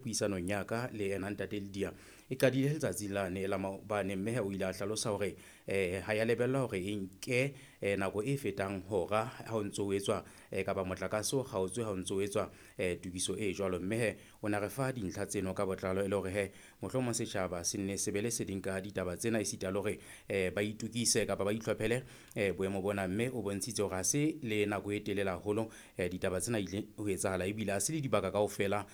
Puisanong ya ka le ena Ntate Lydia e qadile letsatsi lane la maobane, mme o ile a hlalosa hore ha ya lebellwa hore e nke nako e fetang hora ha o ntso o etswa kapa motlakase o kgaotswe ha o ntso o etswa tokiso e jwalo. Mme he o na re fa dintlha tseno ka botlalo e le hore he mohlomong setjhaba se nne se be le seding ka ditaba tsena, esita le hore ba itukise kapa ba itlhophele boemo bona. Mme o bontshitse hore ha se le nako e telele haholo ditaba tsena ile ho etsahala, ebile ha se le dibaka kaofela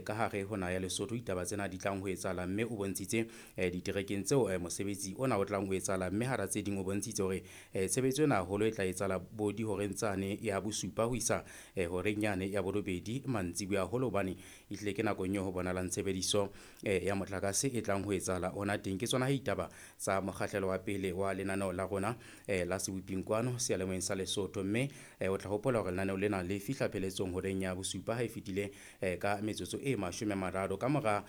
ka hare ho naha ya Lesotho ditaba tsena di tlang ho etsahala. Mme o bontshitse diterekeng tseo mosebetsi ona o tlang ho etsahala, mme hara tse ding o bontshitse hore tshebetso ena haholo e tla etsahala bo dihoreng tsane ya bosupa ho isa horeng yane ya borobedi mantsiboya haholo, hobane ehlile ke nakong eo ho bonahalang tshebediso ya motlakase e tlang ho etsahala ona teng. Ke tsona ditaba tsa mokgahlelo wa pele wa lenaneo la rona la Seboping kwano seyalemoyeng sa Lesotho. Mme o tla hopola hore lenaneo lena le fihla pheletsong horeng ya bosupa ha e fetile ka metsotso e 30. Ka mora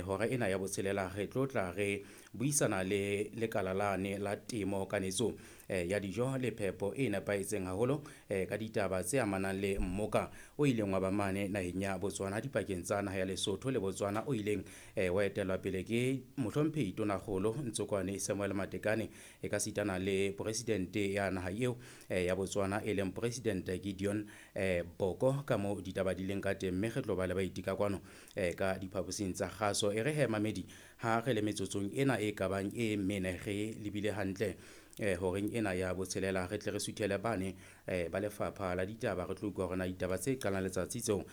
hora ena ya botshelela re tlo tla re buisana le lekala lane la temo kanetso ya dijo le phepo e nepahetseng haholo ka ditaba tse amanang le mmoka o ileng wa ba mane naheng ya Botswana dipakeng tsa naha ya Lesotho le Botswana, o ileng wa etellwa pele ke mohlomphehi Tonakgolo Ntsokwane Samuel Matekane e ka sitana le presidente ya naha eo ya Botswana e leng President Gideon Boko, ka moo ditaba di leng ka teng. Mme re tlo ba le baeti ka kwano ka diphaposing tsa kgaso. E re he mamedi, ha re le metsotsong ena e kabang e mene re lebile hantle horeng ena ya botshelela, re tle re suthele bane ba lefapha la ditaba, re tlo utlwa hore na ditaba tse qalang letsatsi tseo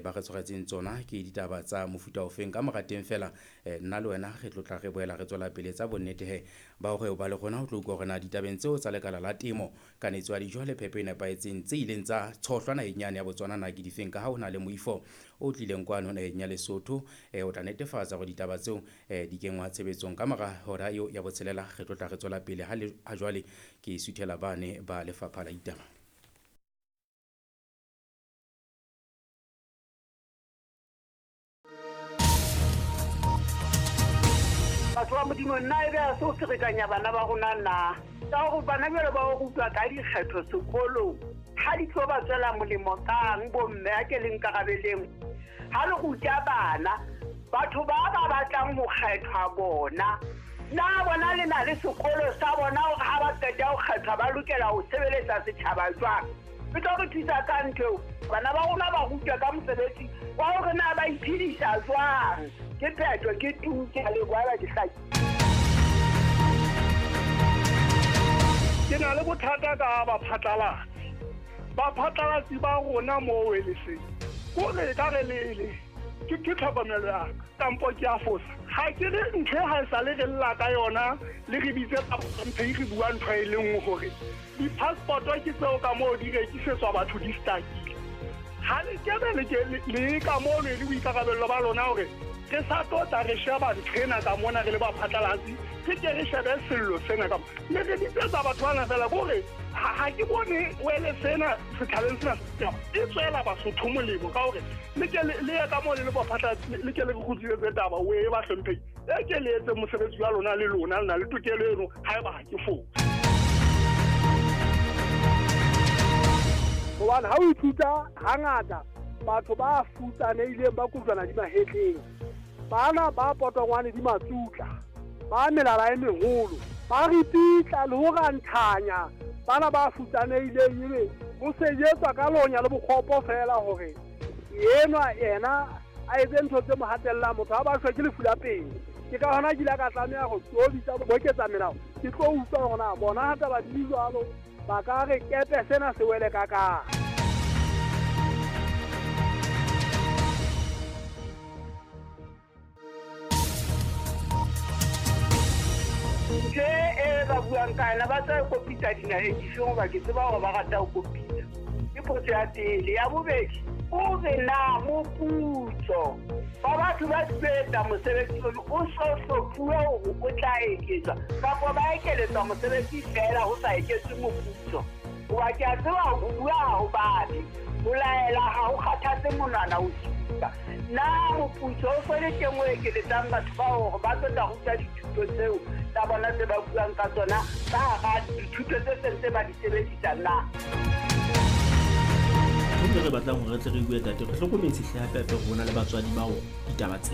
ba re tshwaretseng tsona ke ditaba tsa mofuta ofeng. Ka mora teng fela nna le wena re tlo tla re boela re tswela pele tsa bonnete he ba hore o ba le rona ho tlo utlwa hore na ditabeng tseo tsa lekala la temo kanetso ya dijo le phepo e nepahetseng tse ileng tsa tshohlwa naheng yane ya Botswana na ke difeng, ka ha ho na le moifo o tlileng kwano naheng ya Lesotho o tla netefatsa hore ditaba tseo di kenngwa tshebetsong. Ka mora hora eo ya botshelela re tlo tla re tswela pele. Ha jwale ke suthela bane ba lefapha la ditaba. Batho ba Modimo, nna e be a se o ferekanya bana ba rona na? Ka hore bana jwale ba o rutwa ka dikgetho sekolong, ha di tlo ba tswela molemo kang bomme a ke le nkarabeleng? Ha le ruta bana, batho ba ba batlang ho kgethwa bona, na bona le na le sekolo sa bona hore ha ba qeta ho kgethwa ba lokela ho sebeletsa setjhaba jwang? E tlo re thusa ka ntho eo. Bana ba rona ba rutwa ka mosebetsi wa hore na ba iphedisa jwang. Ke phetho, ke tu, ke a leboha, ba ke hlaki. Ke na le bothata ka baphatlalatsi. Baphatlalatsi ba rona moo e le seng. Kore e ka re le le, ke tlhokomelo ya ka, kampo ke a fosa. Ha ke re ntho e ha e sale re lla ka yona, le re bitse ka mphe re bua ntho e le nngwe hore di-passport-o ke tseo ka moo di rekisetswa batho di stakile. Ha le kebe le ke le ka moo le le boikarabello ba lona hore re sa tlo tla re sheba ntho ena ka mona re le baphatlalatsi, re ke re shebe sello sena ka mona. Le re bitsetsa batho bana fela ke hore ha ke bone wele sena setjhabeng sena e tswela Basotho molemo ka hore le ke le ye ka moo le le baphatlalatsi, le ke le re kgutlisetse taba o e ba hlomphehi. E ke le etse mosebetsi wa lona le lona, le na le tokelo eno haeba ha ke fose. Hobane ha o ithuta hangata batho ba futsanehileng ba kojwana di mahetleng, bana ba potongwane di matsutla, ba melala e meholo, ba ripitla le ho ranthanya bana ba futsanehileng, ebe ho sejetswa ka lonya le bokgopo fela hore enwa yena a etse ntho tse mo hatellang. Motho ha ba shwe ke lefu la pele. Ke ka hona ke ile ka tlameha ho tlo bitsa boketsa melao, ke tlo utlwa hore na bona ha taba di le jwalo ba ka re kepe sena se wele ka kae. Ntho e ba buang ka yona ba tla kopitsa dinaheng difeng, hoba ke tseba hore ba rata ho kopitsa. Ke potso ya pele. Ya bobedi, o re na moputso wa batho ba sebetsa mosebetsi ono o so hlophuwe hore o tla eketswa kapa ba ekeletswa mosebetsi fela ho sa eketswe moputso? Hoba ke a tseba ho bua ha ho babe, ho laela ha ho kgathatse monwana o supa. Na moputso o so le teng o ekeletsang batho bao hore ba tlo tla ruta dithuto tseo tsa bona tse ba buang ka tsona ka hara dithuto tse seng tse ba di sebedisa na? Ntho e re batlang hore re tle re bue tate, re hlokometse hle hape hape rona le batswadi bao ditaba tsena.